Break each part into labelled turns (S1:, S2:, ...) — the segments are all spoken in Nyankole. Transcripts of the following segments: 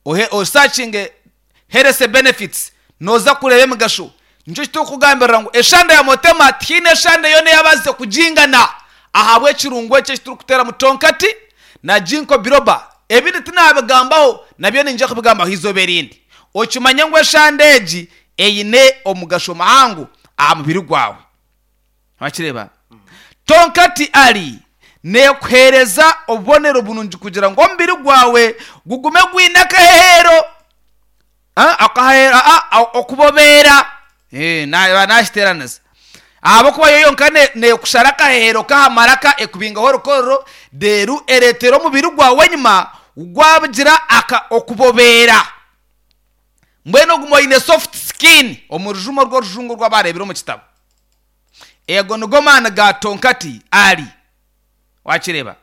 S1: Ohe osakinge health benefits noza kureeba emigasho. Nikyo kiturikukugambirira ngu eshande ya Motema tihaine eshande yoona eyabaasize kugingana ahabw'ekirungo eki ekiturikuteeramu Tonkati na Ginkgo biloba. Ebindi tinabigambaho nabyo niinyija kubigambaho eizooba erindi. Okimanye ngu eshande egi eine omugasho muhango aha mubiri gwawe. Wakireeba? Tonkati ari neekuheereza obubonero burungi kugira ngu omubiri gwawe gugume gwine akaheheero. Akaheheero, okubobeera. Naaba naakiteeranisa. Ahabw'okuba yo yonka neekushara akaheheero k'aha maraka ekubingaho orukororo, reero ereetera omubiri gwawe enyima gwagira okubobeera. Mbwenu oguma oine soft skin omu rujuma orw'orujungu oru abaareebire omu kitabo. Ego nigo maani ga Tonkati Ali. Wakireeba?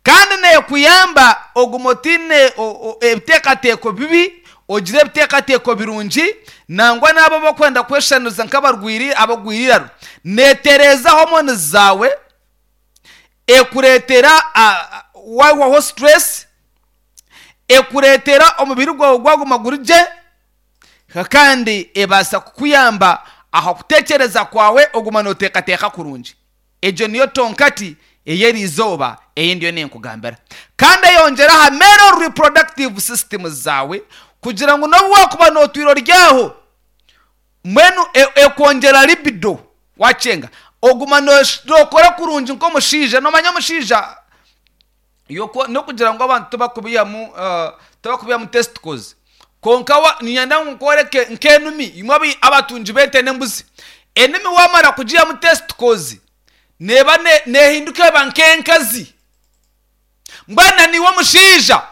S1: Kandi neekuyamba oguma otaine ebiteekateeko bibi, ogire ebiteekateeko birungi, nangwa n'abo abarikwenda kweshushaniriza nk'abarwaire abagwire eiraro. Neetereeza hormones zaawe, ekureetera waihwaho stress, ekureetera omubiri gwawe gwaguma guri gye, kandi ebaasa kukuyamba aha kutekyereza kwawe oguma nooteekateeka kurungi. Egyo niyo tonkati ey'eri izooba ei ndiyo ninkugambira. Kandi eyongyera aha male reproductive systems zaawe kugira ngu n'obu waakuba nootwire ori aho, mbwenu ekwongyera libido waakyenga, oguma nookora kurungi nk'omushaija. Noomanya omushaija N'okugira ngu abantu tibakubihamu tibakubihamu testicles kwonka niinyenda ngu nkworeke nk'enumi imwe abatungi b'ente n'embuzi enumi waamara kugihamu testicles neeba neehinduka eba nk'enkazi mbwenu na naiwe omushaija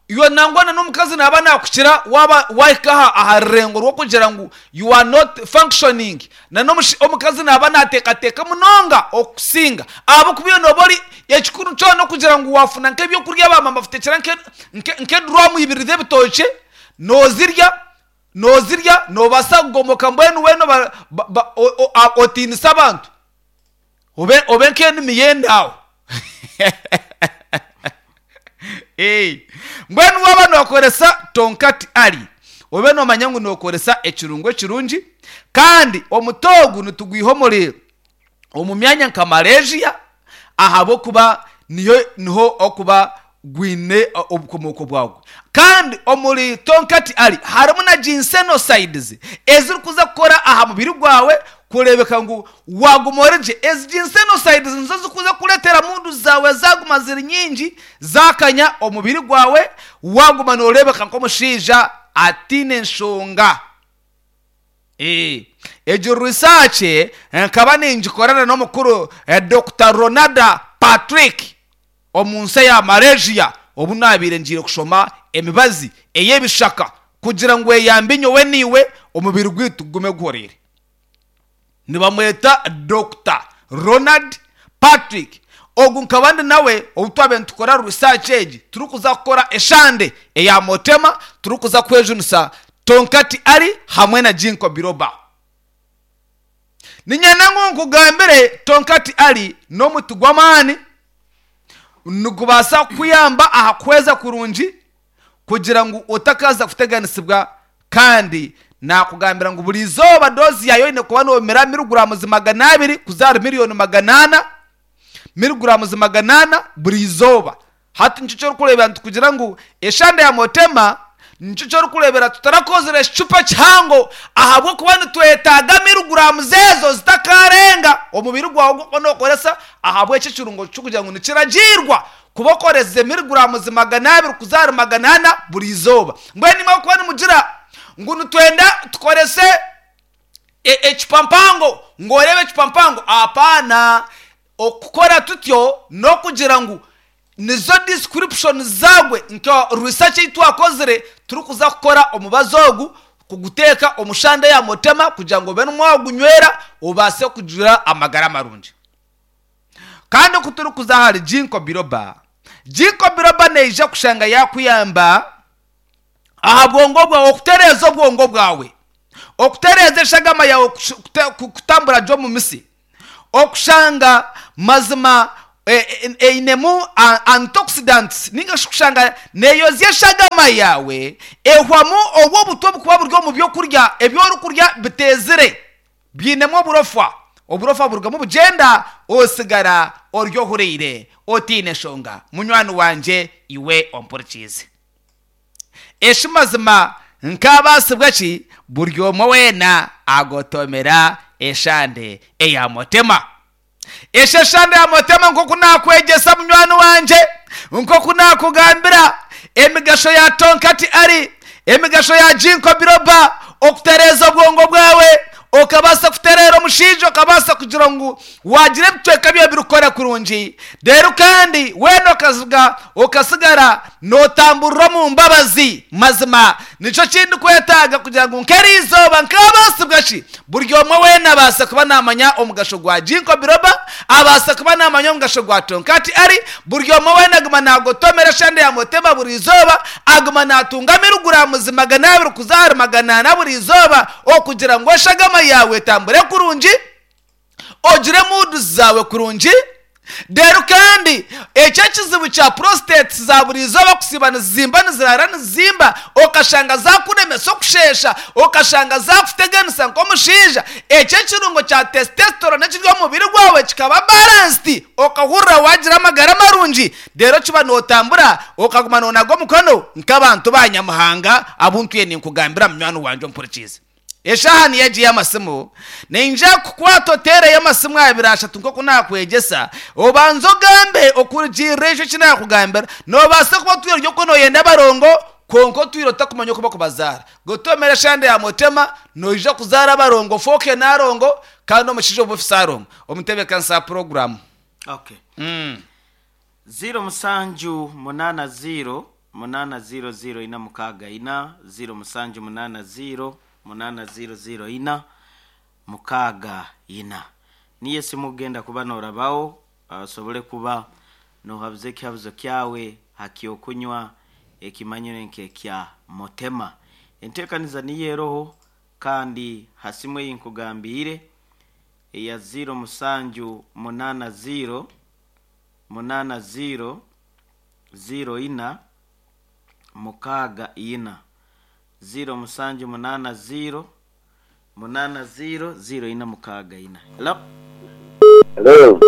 S1: iwe nangwa na n'omukazi naaba naakukira waaba waahika aha rurengo rw'okugira ngu you are not functioning Na n'omukazi naaba naateekateeka munonga okukusinga, ahabw'okuba iwe nooba ori, ekikuru kyona okugira ngu waafuna nk'eby'okurya baaba nibakuteekyera nk'eduraamu ibiri z'ebitookye, noozirya, noozirya, noobaasa kugomoka mbwenu weena otiinise abantu, obe obe nk'enimi y'endaaho. Mbwenu waaba nookoresa Tonkati Ali, obe noomanya ngu nookoresa ekirungo ekirungi, kandi omuti ogu nitugwiha omuri omu myanya nka Malaysia ahabw'okuba niyo niho okuba gwine obukomooko bwagwo. Kandi omuri Tonkati Ali harimu na ginsenosides ezirikuza kukora aha mubiri gwawe kureebeka ngu Waaguma ori gye, ezi ginsenosides nizo zirikuza kukureetera mundu zaawe zaaguma ziri nyingi, zaakanya omubiri gwawe, waaguma nooreebeka nk'omushaija ataine nshonga. Egyo research nkaba ningikorana n'omukuru Dokita Ronada Patrick omu nsi eya Malaysia obu naabaire ngiire kushoma emibazi ey'ebishaka kugira ngu eyambe nyowe naiwe omubiri gwaitu gugume guhuriire. Nibamweta Dokita Ronald Patrick. Ogu nkaba ndi nawe obu twabaire nitukora research egi turikuza kukora eshande eya Motema turikuza kwejunisa Tonkati Ali hamwe na Ginkgo Biloba. Niinyenda ngu nkugambire Tonkati Ali n'omuti gw'amaani nigubaasa kukuyamba aha kuhweza kurungi kugira ngu otakaaza kuteganisibwa kandi naakugambira ngu buri izooba doozi yaayo oine kuba noomira miriguraamuzi 200 kuza ahari miriyoni 400, miriguraamuzi 400 buri izooba. Hati nikyo ky'orikureebera nitukugira ngu eshande ya Motema nikyo ky'orikureebera tutarakozire ekicupa kihango ahabw'okuba nitwetaaga miriguraamuzi ezo zitakaarenga omubiri gwawe ogu orikuba nookoresa ahabw'ekyo ekirungo ky'okugira ngu nikiragiirwa Kuba okoresize miriguramuzi 200 kuza ahari 400 buri izooba. Mbwenu imwe ahabw'okuba nimugira ngu nitwenda tukorese ecupa mpango, ngu oreebe ecupa mpango, apaana. Okukora tutyo n'okugira ngu nizo description zaagwe nka research ei twakozire turikuza kukora omubazi ogu kuguteeka omu shande ya Motema kugira ngu obe nimwo wagunywera obaase kugira amagara marungi. Kandi ku turikuza ahari Ginkgo biloba, Ginkgo biloba neija kushanga yaakuyamba aha bwongo bwawe, okutereeza obwongo bwawe, okutereeza eshagama yaawe kutambura gye omu mitsi, okushanga mazima. Einemu antioxidants ninga shi kushanga neyozya eshagama yaawe ehwamu obwo obutwa obukuba buri omu byokurya ebi orikurya biteezire byinemu oburofa. Oburofa burugamu bugyenda osigara ori ohuriire otaine nshonga. Munywani wangye iwe ompurikiize. Eshi mazima nkaabaasibwa ki buri omwe weena agotomera eshande eya Mutema. Esheshande ya Mutema nk'oku naakwegyesa munywani wangye, nk'oku naakugambira emigasho ya Tonkati Ari, emigasho ya Ginkgo Biloba, okutereeza obwongo bwawe, okabaasa kutereera omushaija, okabaasa kugira ngu waagira ebicweka byawe birikukora kurungi, reero kandi weena okaziga okasigara nootamburira omu mbabazi. Mazima nikyo ki ndikwetaaga kugira ngu nk'eriizooba nkaabaasibwa ki? Buri omwe weena abaasa kuba naamanya omugasho gwa Ginkgo Biloba, abaasa kuba naamanya omugasho gwa Tonkati Ari. Buri omwe weena aguma naagotomera eshande ya Motema buri izooba, aguma naatunga miriguraamuzi 200 kuza ahari 400 buri izooba okugira ngu eshagama yaawe etambure kurungi. Ogire moods zaawe kurungi. Reero kandi ekyo ekizibu kya prostates za buri izooba kusiiba nizizimba niziraara nizizimba okashanga zakuremesa okusheesha, okashanga zakuteganisa nk'omushaija, ekyo ekirungo kya testosterone ekiri omu mubiri gwawe kikaba balanced okahurira wagira amagara marungi reero kiba notambura okaguma nonaga omukono nk'abantu ba Nyamuhanga abu ntwire ninkugambira munywani wangye ompurikiize. Eshaaha niyo egi y'amasimu. Niinyija kukukwata oteereyo amasimu abiri ashatu nk'oku naakwegyesa, obanze ogambe okurugiirira ekyo eki naakugambira. Noobaasa kuba otwire ori okwo nooyenda abarongo, kwonka otwire otakumanya oku barikubazaara. Gotomera eshande ya Mutema, noija kuzaara abarongo ofooke naarongo, kandi omushaija obe ofise arongo. Omutebeekanisa wa puroguraamu.
S2: Okay. Ziiro musanju munaana ziiro munaana ziiro ziiro ina mukaaga ina, ziiro musanju munaana ziiro munaana ziiro ziiro ina mukaaga ina. Niyo esimu ogenda kuba norabaho osobole kuba nohabuza ekihabuzo kyawe ha ky'okunywa ekimanyirwe nk'ekya Motema. Enteekaniza niyo eroho kandi ha simu ei nkugambiire eya ziiro musanju munaana ziiro munaana ziiro ziiro ina mukaaga ina, ziiro musanju munaana ziiro munaana ziiro ziiro ina mukaaga ina. Hello.
S3: Hello.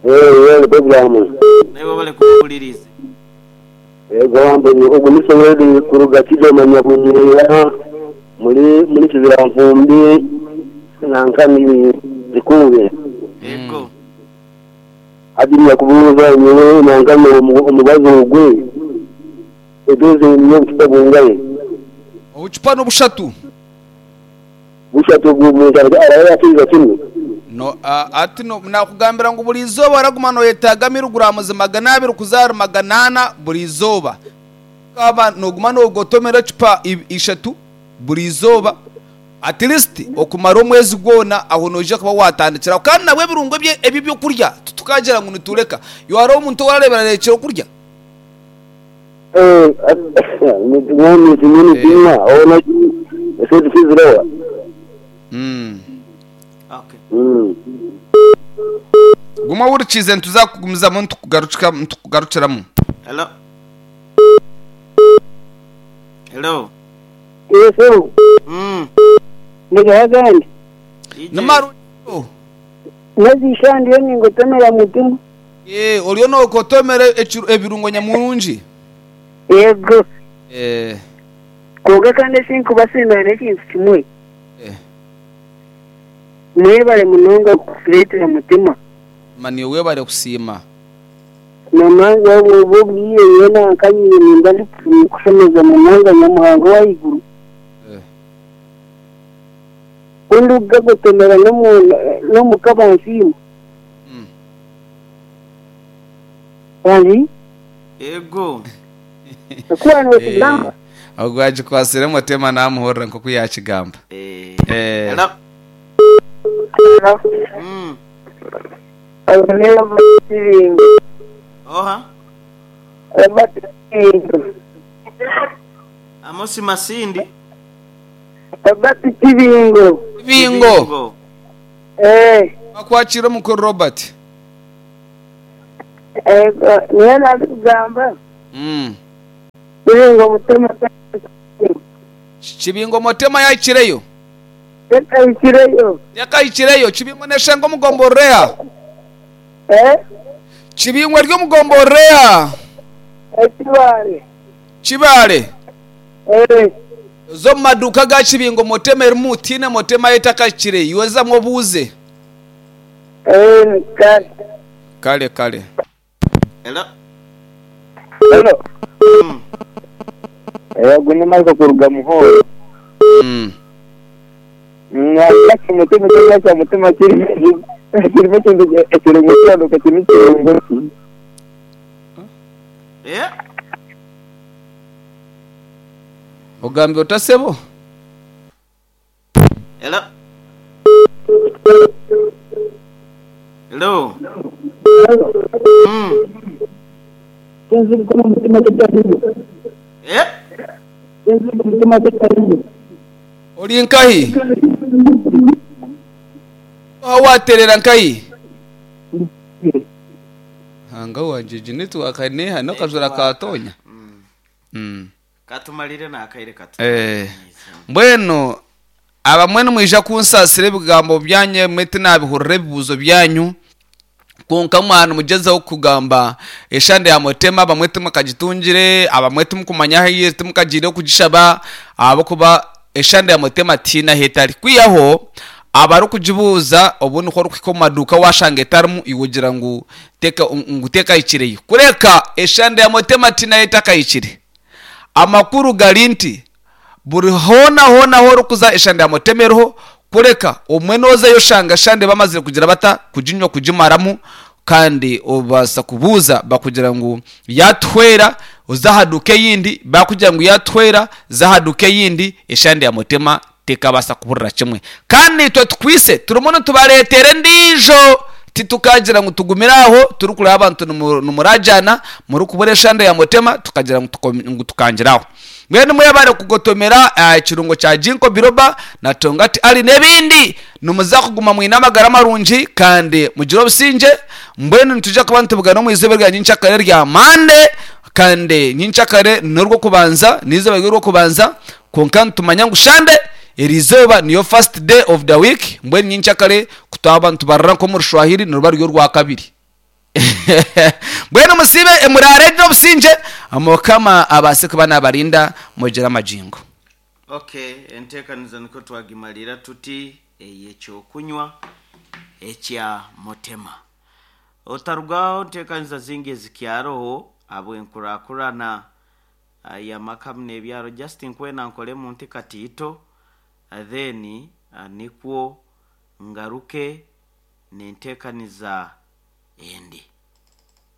S3: Hey, yeli programu.
S2: Naiwe webale kuba ohuririize.
S3: Yego wambe ogu ni Sowedi kuruga Kigoma Nyabunyira muri muri Kiziranfumbi nankani Zikuube.
S2: Yego.
S3: Hati nyakubuuza nyowe nankani omubazi ogwe edozi n'obucupa bungahi?
S1: Obucupa n'obushatu.
S3: Bushatu obwo omuntu araba yakiriza kimwe?
S1: No, hati no, nakugambira ngu buri izooba oraguma noyetaaga miriguramuzi 200 kuza ahari 400 buri izooba. Waaba noguma nogotomera ecupa ishatu buri izooba, At least okumara omwezi gwona aho noija kuba watandikiraho. Kandi nabwo ebirungo eby'ebyokurya titukagira ngu nitureka. Iwe hariho omuntu ou orareeba ararekire okurya? Guma ohurikiize nituza kugumizamu nitukugarukiramu.
S2: Hello. Hello.
S4: Yesu,
S2: Mm.
S4: Ndigaho agandi.
S2: DJ.
S1: Ni marungi o.
S4: N'eziisha ndiyo ningotomera mutima.
S1: Ee, oriyo noogotomera ekiru- ebirungo nyamurungi.
S4: Yego.
S1: Ee,
S4: Kwonka kandi eki nkubasiimira n'ekintu kimwe.
S1: ee.
S4: Mwebare munonga kutureetera mutima.
S1: Ma niiwe webare kusiima.
S4: Namanzi obwo obwo obwire nyowe nanka nyine nimba ndikushemeza munonga Nyamuhanga ow'ahaiguru. Ku ndikugagotomera n'omuka bansiima. Wangi?
S2: Ego.
S4: Oku waaba nookigamba.
S1: Ogwo agikwatsire Mutema naamuhurira nk'oku yaakigamba.
S2: Hello.
S4: Ogu ni Robert Kibingo.
S2: Oha?
S4: Robert Kibingo.
S2: Amosi Masindi.
S4: Robert Kibingo.
S1: Kibingo.
S4: Eh.
S1: Bakwakire omukuru Robert.
S4: Ego, niyo nandikugamba. Kibingo Mutema
S1: Kibingo Mutema yahikireyo?
S4: Tekahikireyo.
S1: Tekahikireyo. Kibingo neshanga omu gomborora eha?
S4: Eh?
S1: Kibingo eri omu gomborora eha?
S4: Ekibare.
S1: Kibare?
S4: Eh.
S1: Oze omu maduuka aga Kibingo Mutema erimu, tihaine Mutema etakahikire. Iwe zamu obuuze.
S4: Eh, kare.
S1: Kare kare.
S2: Hello.
S3: Hello.
S2: Mm.
S3: Eh, ogu ni Michael kuruga Muhoro. Nyagira mutima ekyokurya kya mutima kirimu kirimu ekintu ekirungo kiranuka kirimu ekirungo ki?
S2: Eh?
S1: Ogambire ota sebo?
S2: Hello. Hello. Eh?
S1: Ori nkahi? Oha waateerera nkahi? Ruhanga wangye egi netiwaaka neeha n'akajura kaatoonya.
S2: Katumarire n'akaire katu.
S1: Eh, mbwenu abamwe nimwija kunsaasira ebigambo byanyu ebimwe tinaabihurira ebibuuzo byanyu kwonka mwaba nimugyezaho kugamba eshande ya mutema abamwe timukagitungire abamwe timukumanya ahu eri timukagiireho kugishaba ahabw'okuba eshande ya mutema tihaine ahu etari kwihaho abarikugibuuza obu niho orikuhika omu maduuka waashanga etarimu iwe ogira ngu teka ngu tekahikireyo kureka eshande ya mutema tihaine ahu etakahikire Amakuru gari nti, buri hoona hoona ahu orikuza eshande ya mutema eriho, kureka obumwe nozayo oshanga eshande bamazire kugira bata? Kuginywa kugimaramu kandi obaasa kubuuza bakugira ngu yatuhwera oze aha duuka eyindi, bakugira ngu yatuhwera za aha duuka eyindi, eshande ya mutema tekabaasa kuburira kimwe. Kandi naitwe tukwise turimu nitubareetera endiijo. Titukagira ngu tugumire aho turikureeba abantu nimuragyana murikubura eshande ya mutema tukagira ngu tukangire aho. Mbwenu mwebare kugotomera ekirungo kya Ginkgo Biloba na Tongati Ali n'ebindi. Nimuza kuguma mwine amagara marungi kandi mugire obusingye. Mbwenu nitwija kuba nitubugana omu izooba erya nyenkyakare erya Mande kandi nyenkyakare n'orw'okubanza n'eizooba ry'orw'okubanza kwonka nitumanya ngu shande Eri izooba niyo first day of the week, mbwenu nyenkyakare ku twaba nitubarira nk'omu Rushwahiri niruba ruri orwakabiri. Mbwenu musiibe muraare gye obusingye, Mukama abaase kuba naabarinda mugire amagingo.
S2: Ok, enteekaniza nikwo twagimarira tuti ey'ekyokunywa ekya Mutema. Otarugaho nteekaniza zingi ezikyaroho ahabw'enkurakurana Y'amaka hamwe n'ebyaro just nkwenda nkoremu nti katiito then nikwo ngaruke nentekaniza endi.